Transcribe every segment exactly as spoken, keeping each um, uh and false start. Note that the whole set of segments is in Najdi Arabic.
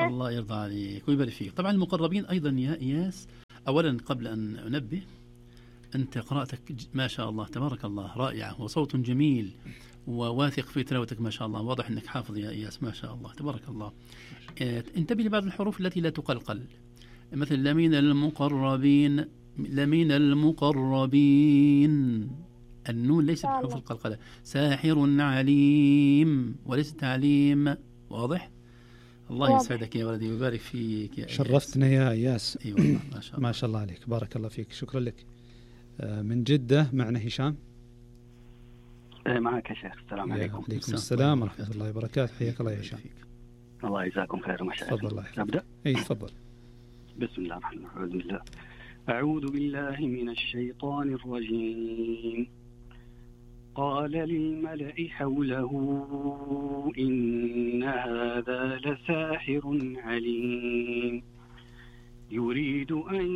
الله يرضى عليك ويبارك فيك. طبعا المقربين أيضا يا إياس، أولا قبل أن أنبه، أنت قراءتك ما شاء الله تبارك الله رائعة، وصوت جميل، وواثق في تلاوتك ما شاء الله، واضح أنك حافظ يا إياس ما شاء الله تبارك الله. انتبه لبعض الحروف التي لا تقلقل، مثل لمن المقربين، لمن المقربين، النون ليست بحروف القلقلة. ساحر عليم وليست تعليم، واضح؟ الله يسعدك يا ولدي ويبارك فيك يا شرفتنا يا إياس. اي والله ما شاء الله. ما شاء الله عليك، بارك الله فيك، شكرا لك. من جدة معنا هشام. معك يا شيخ. السلام عليكم. عليكم السلام ورحمة الله وبركاته، حياك الله يا هشام. الله يجزاكم خير ومشاء. تفضل الله. أبدأ؟ أي تفضل. بسم الله الرحمن الرحيم. بسم الله. أعوذ بالله من الشيطان الرجيم. قال للملأ حوله إن هذا لساحر عليم يريد أن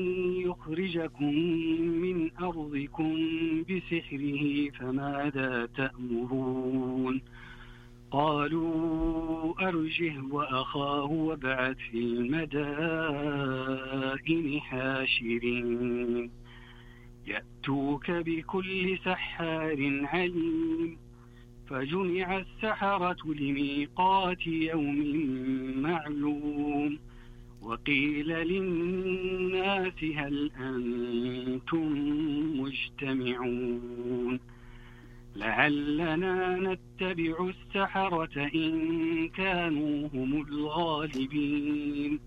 يخرجكم من أرضكم بسحره فماذا تأمرون؟ قالوا أرجه وأخاه وابعث في المدائن حاشرين يأتوك بكل سحار عليم. فجمع السحرة لميقات يوم معلوم وقيل للناس هل أنتم مجتمعون لعلنا نتبع السحرة إن كانوا هم الغالبين.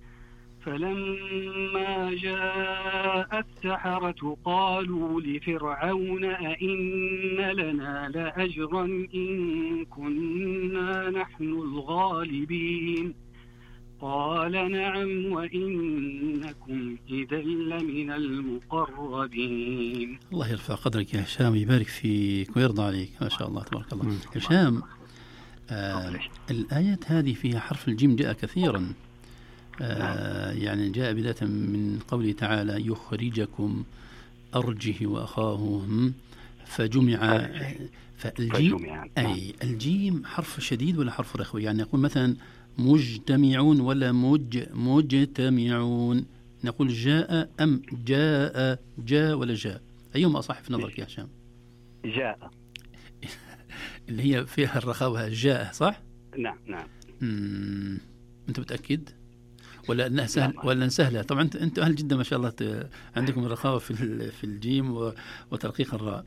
فلما جاء السحرة قالوا لفرعون أئن لنا لأجرا إن كنا نحن الغالبين قال نعم وإنكم إذا لمن المقربين. الله يرفع قدرك يا هشام، يبارك فيك ويرضى عليك ما شاء الله تبارك الله. هشام، آه الآيات هذه فيها حرف الجيم جاء كثيرا، آه يعني جاء بداية من قوله تعالى يخرجكم أرجه وأخاه فجمع. فالجيم أي الجيم حرف شديد ولا حرف رخوي؟ يعني نقول مثلا مجتمعون ولا مج مجتمعون؟ نقول جاء أم جاء؟ جاء ولا جاء؟ أيهما أصح في نظرك يا هشام؟ جاء اللي هي فيها الرخاوة، جاء صح؟ نعم نعم. مم. أنت متأكد ولا أنها سهل ولا سهلة؟ طبعا أنت أهل جدة ما شاء الله عندكم الرخاوة في في الجيم وترقيق الراء.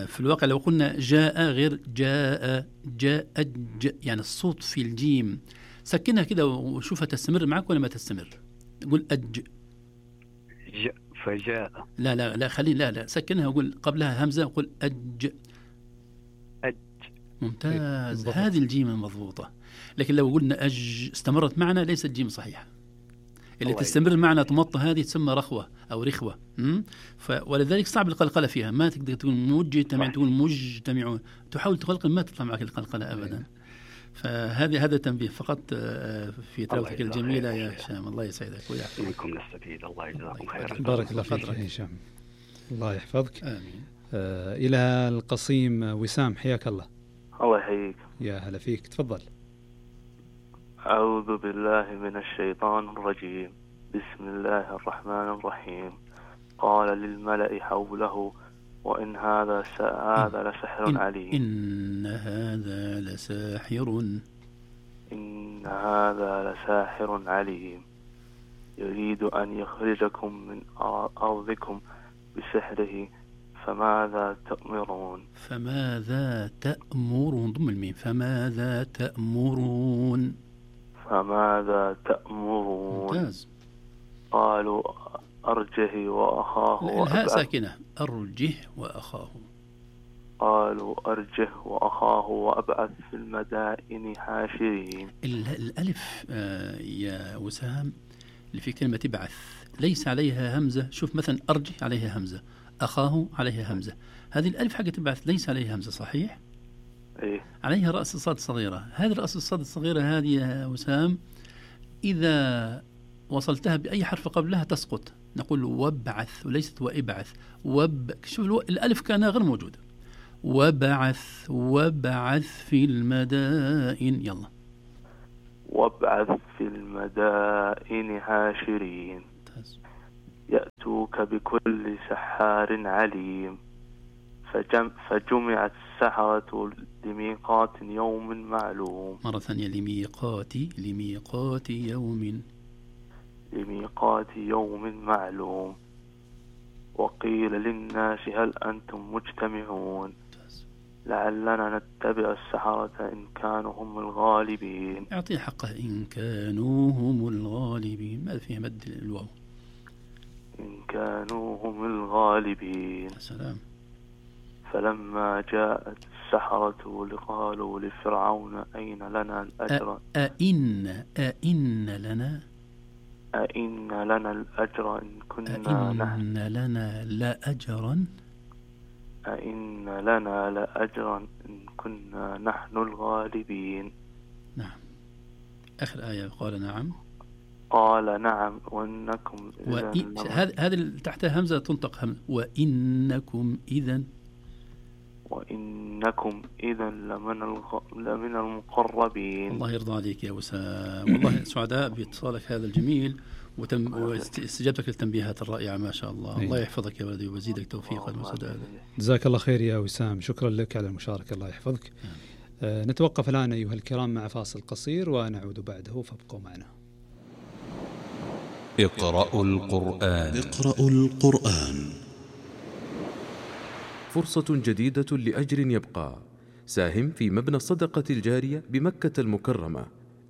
في الواقع لو قلنا جاء غير جاء، جاء ج، يعني الصوت في الجيم سكنها كده وشوفها تستمر معك ولا ما تستمر. قول أج ج فجاء. لا لا لا خلي لا لا سكنها وقول قبلها همزة وقول أج. أج. ممتاز، هذه الجيم مضبوطة. لكن لو قلنا أج استمرت معنا ليست جيم صحيحة. اللي تستمر معنا تمط هذه تسمى رخوة أو رخوة. ف... ولذلك صعب القلقلة فيها، ما تقدر تقول مجتمع، تقول مجتمعون، تحاول تقلقل ما تطلع معك القلقلة أبدا. فهذه هذا تنبيه فقط في تلاوتك الجميلة يا هشام. الله يسعدك ويعافيك. منكم نستفيد. الله يجزاكم خير. بارك الله فيك يا هشام، الله يحفظك. آمين. آه إلى القصيم وسام، حياك الله. الله يحييك. يا هلا فيك، تفضل. أعوذ بالله من الشيطان الرجيم. بسم الله الرحمن الرحيم. قال للملأ حوله وإن هذا هذا لسحر إن عليم. إن هذا لساحر إن هذا لساحر عليم يريد أن يخرجكم من أرضكم بسحره فماذا تأمرون؟ فماذا تأمرون؟ ضم الميم. فماذا تأمرون؟ فماذا تأمرون؟ ممتاز. قالوا أرجه وأخاه. الهاء ساكنة. أرجه وأخاه. قالوا أرجه وأخاه وأبعث في المدائن حاشرين. الألف آه يا وسام اللي في كلمة ابعث ليس عليها همزة. شوف مثلا أرجه عليها همزة، أخاه عليها همزة. هذه الألف حقت ابعث ليس عليها همزة صحيح؟ إيه؟ عليها رأس الصاد الصغيرة. هذه رأس الصاد الصغيرة هذه يا وسام إذا وصلتها بأي حرف قبلها تسقط. نقول وابعث وليست وابعث. وب شوف الألف كان غير موجودة. وابعث وابعث في المدائن. يلا وابعث في في المدائن حاشرين يأتوك بكل سحار عليم فجم فجمع السحرة لميقات يوم معلوم. مرة ثانية لميقات لميقات يوم لميقات يوم معلوم. وقيل للناس هل أنتم مجتمعون لعلنا نتبع السحرة إن كانوا هم الغالبين. أعطيه حقه إن كانوا هم الغالبين، ما فيه مد الواو. إن كانوا هم الغالبين. سلام. فلما جاءت السحرة لقالوا لفرعون أين لنا الأجر أئن أئن لنا أئن لنا الأجر إن كنا أئن لنا لأجرا أئن لنا لأجرا إن كنا نحن الغالبين. نعم. آخر آية قال نعم. قال نعم وإنكم وإن... هذا هذا تحتها همزة تنطق همزة. وإنكم إذن وإنكم إذا لمن الغ... لمن المقربين. الله يرضى عليك يا وسام، والله سعداء باتصالك هذا الجميل وتم... واستجابتك للتنبيهات الرائعة ما شاء الله. أيه. الله يحفظك يا ولدي ويزيدك توفيقا وسدادا. جزاك الله خير يا وسام، شكرا لك على المشاركة، الله يحفظك. آه نتوقف الآن أيها الكرام مع فاصل قصير ونعود بعده، فابقوا معنا. اقرأوا القرآن. اقرأوا القرآن. فرصة جديدة لأجر يبقى. ساهم في مبنى الصدقة الجارية بمكة المكرمة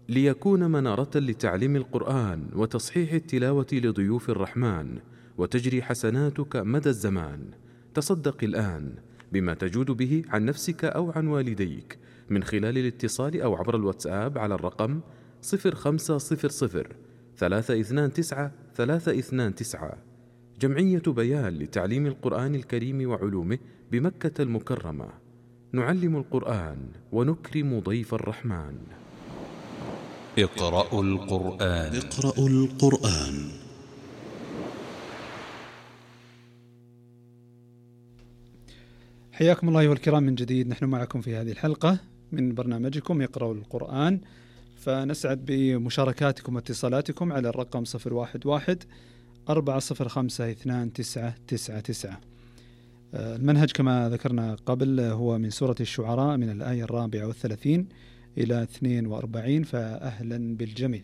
ليكون منارة لتعليم القرآن وتصحيح التلاوة لضيوف الرحمن، وتجري حسناتك مدى الزمان. تصدق الآن بما تجود به عن نفسك أو عن والديك من خلال الاتصال أو عبر الواتساب على الرقم صفر خمسة صفر صفر ثلاثة اثنان تسعة ثلاثة اثنان تسعة. جمعية بيان لتعليم القرآن الكريم وعلومه بمكة المكرمة. نعلم القرآن ونكرم ضيف الرحمن. اقرأوا القرآن. اقرأوا القرآن. حياكم الله أيها الكرام من جديد، نحن معكم في هذه الحلقة من برنامجكم اقرأوا القرآن، فنسعد بمشاركاتكم واتصالاتكم على الرقم صفر واحد واحد أربعة صفر خمسة اثنان تسعة تسعة تسعة. المنهج كما ذكرنا قبل هو من سورة الشعراء من الآية الرابعة والثلاثين إلى اثنين وأربعين، فأهلا بالجميع.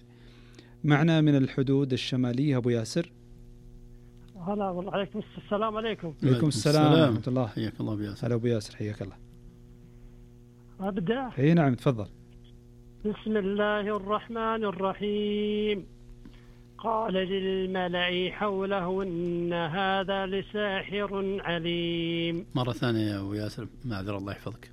معنا من الحدود الشمالية أبو ياسر. هلا والله. عليكم السلام. عليكم. عليكم السلام ورحمة الله. حياك الله أبو ياسر. هلا أبو ياسر، حياك الله. أبدأ. اي نعم تفضل. بسم الله الرحمن الرحيم. قال للملأ حوله إن هذا لساحر عليم. مرة ثانية يا أبو ياسر، معذرة الله يحفظك.